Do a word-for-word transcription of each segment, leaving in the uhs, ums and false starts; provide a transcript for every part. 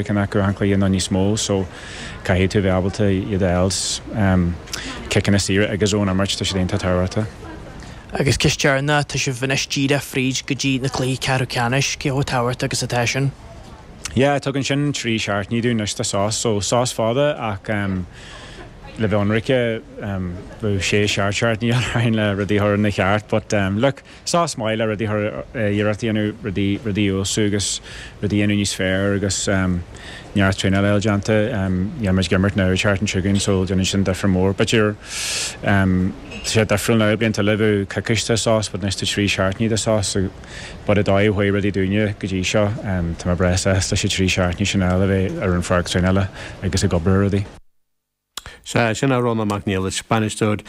Ceann acu an cluiche nó níos mó so caithfidh tú bheith ábalta iad a fháil ciceanna saora agus ón imirt tá siad iontach tábhachtach. Agus ceist dheireanach tá sibh anois díreach fríd go dtí na cluichí ceathrú ceannais cé chomh tábhachtach agus atá sin. Yeah, tugann sin trí seachtainí dúinn anois de sos, so sos fada ach um, le bheith ionraic um, bheadh sé seacht seachtainí ann le rudaí a chur ina cheart, but um, look, sos maith le rudaí iarracht a dhéanamh rudaí rudaí ósú agus rudaí dhéanamh níos fearr agus um, neart traenáil déanta um, muid ag imirt now seachtain seo chugainn so déanann sin difear mór. B'fhéidir um, sé difriúil now blianta le bheith coicís de sos, but anois tá trí seachtainí de sos, so but i dóigh chuaigh rudaí dúinne go dtí seo um, tá mé breá sásta leis trí seachtainí sin eile a bheith ar an pháirc traenála agus ag obair ar rudaí. Sea sin é Rónán Mac Niallais bainisteoir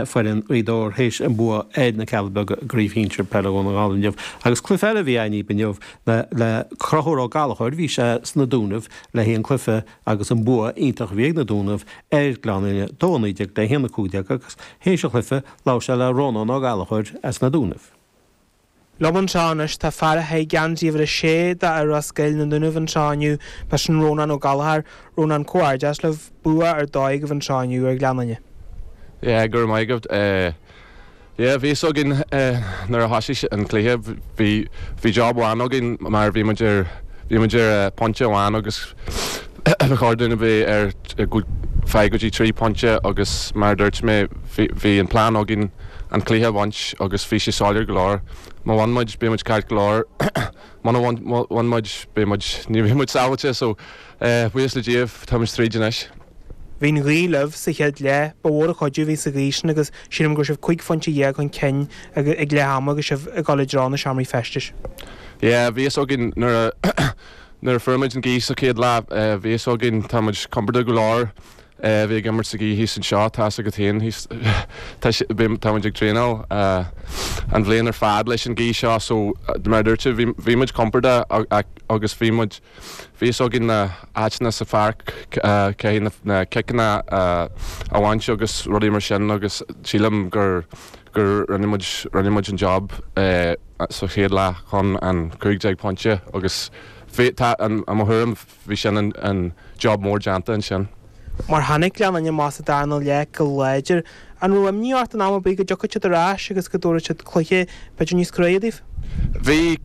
foireann Ghaoth Dobhair théis an bua ar na Cealla Beaga i gcraobh shinsir peile Dhún na nGall inniu. Agus cluiche eile a bhí againn inniu le le Conchúr Ó Gallchóir bhí sé sna Dúnaibh le haghaidh an cluiche agus an bua iontach a bhí ag na Dúnaibh ar Ghleann Fhinne dó naoi déag le haon a cúig déag agus théis an chluiche labhair sé le Rónán Ó Gallchóir as na Dúnaibh. Liom anseo anois tá fear a chaith geansaí uimhir a sé do Ros Goill na Dúnaibh anseo inniu b'shin Rónán Ó Gallchóir Rónán comhghairdeas libh bua ar dóigh agaibh anseo inniu ar Ghleann Fhinne. Yeah, go raibh maith agat. Uh, yeah, bhí againn uh, nuair a thosaigh an cluiche bhí bhí job amháin againn mar bhí muid ar bhí muid ar uh, pointe amháin agus ba chóir dúinn a bheith ar feadh go dtí trí pointe agus mar dúirt mé bhí an plean againn an cluiche a bhaint agus bhí sé soiléir go leor. Má bhain muid beidh muid ceart go leor Má bhain muid beidh muid ní bheidh muid sábháilte so buíochas le Dia tá muid tríd anois. Bhí an ghaoth libh sa chéad leath ba mhór an cuidiú a bhí sa ghaoth sin agus sílim go raibh sibh cúig phointe dhéag chun cinn ag leath ama agus sibh ag dul i dtreo na seomraí feistis. Yeah, bhí againn nuair a nuair a fuair muid an ghaoth sa chéad leath bhí againn tá muid compordach go leor bhí ag imirt sa ghaoth thíos anseo tá agat féin tá muid ag traenáil an bhliain ar fad leis an ghaoth seo so mar dúirt bhí muid compordach agus bhí muid bhí againn na háiteanna sa pháirc cé na ciceanna a bhaint agus rudaí mar sin agus sílim gur gur rinne muid rinne muid an job sa chéad leath chun an cúig déag pointe agus tá an mo thuairim bhí sin an, an job mór déanta ansin. Mar tháinig Gleann Fhinne amach sa darna leath go láidir an raibh imní ort an am ar bith go dtiocfadh siad ar ais agus go dtabharfadh siad cluiche b'fhéidir níos cruaidhe daoibh? Bhí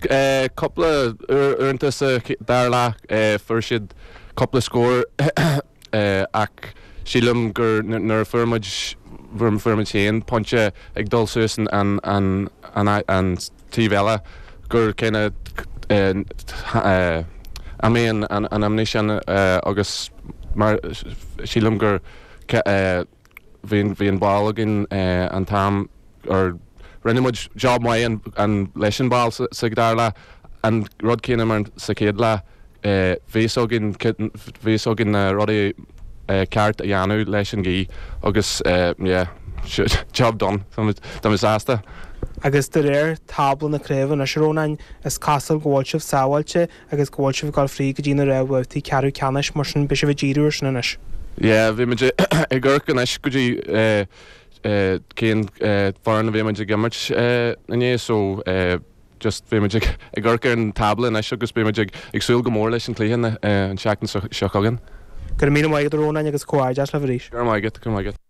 cúpla uaireanta sa dara leath fuair siad cúpla scór ach sílim gur nuair a fuair muid fuair muid féin pointe ag dul suas an an an an an taobh eile gur céanna imigh an an imní sin agus mar sílim gur bhí bhí an ball againn an t-am or rinne muid job maith an, an leis an ball sa, sa dara leath an rud céanna mar sa chéad leath bhí againn bhí againn na rudaí ceart a dhéanamh leis an ghaoth agus yeah, job done Tá mé sásta. Agus de réir tábla na craoibhe anois Rónáin is cosúil go bhfuil sibh sábháilte agus go bhfuil sibh ag dul fríd go dtí na réamhbhabhtaí ceathrú ceannais mar sin beidh sibh ag díriú air sin anois. Yeah, bhí muid ag amharc anois go dtí cén foireann a bhí muid ag imirt inné so just bhí muid ag amharc ar an tábla anois agus bhí muid ag ag súil go mór leis an cluiche an seachtain seo chugainn. Go raibh míle maith agat Rónáin agus comhghairdeas libh arís. Go raibh maith agat, go raibh maith agat.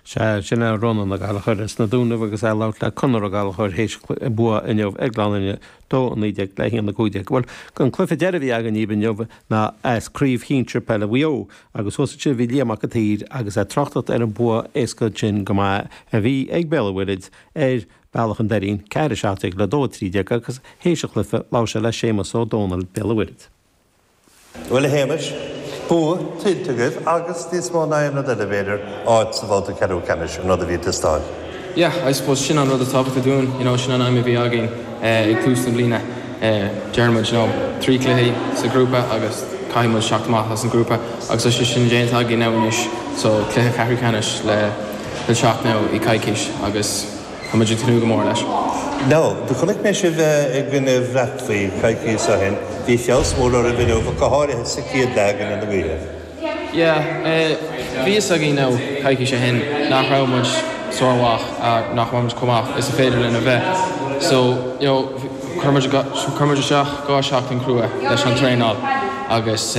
Se sin é Rónán Ó Gallchóir as na Dúnaibh agus é ag labhairt le Conor Ó Gallchóir théis bua inniu ag Gleann Fhinne dó naoi déag le haon a cúig déag. Bhuel an cluiche deiridh a bhí againn inniu ná as craobh shinsir peile Mhaigh Eo agus thuas ansin bhí Liam Mac an tSaoir agus é ag tráchtaireacht ar an bua éasca sin go maith a bhí ag Béal an Mhuirthead ar Bealach an Doirín ceathair a seacht déag le dó a trí déag agus théis an chluiche labhair sé le Séamus Ó Dónaill Béal an Mhuirthead. Bhuel a Shéamais, bua tuillte agaibh agus níos mó ná aon rud eile b'fhéidir áit sa bhabhta ceathrú ceannais an rud a bhí ag teastáil. Yeah, I suppose sin an rud tábhachtach dúinn, you know, sin an aidhm a bhí againn uh, ag tús na bliana. Uh, Deireann muid you know, trí cluiche sa grúpa agus caithfidh muid teacht amach as an grúpa agus tá sé sin déanta againn now anois so cluiche ceathrú ceannais le le teacht now i coicís agus tá muid ag tnúth go mór leis. No, do chonaic mé sibh i gcoinne Bhreatfaí coicís ó shin, bhí feabhas mór oraibh inniu go háirithe sa chéad leath i gcoinne na gaoithe. Yeah, bhí a fhios againn now coicís ó shin nach raibh muid sármhaith nach raibh muid chomh maith is a féidir linn a bheith. So you know, chuir muid isteach dhá seachtain crua leis an traenáil agus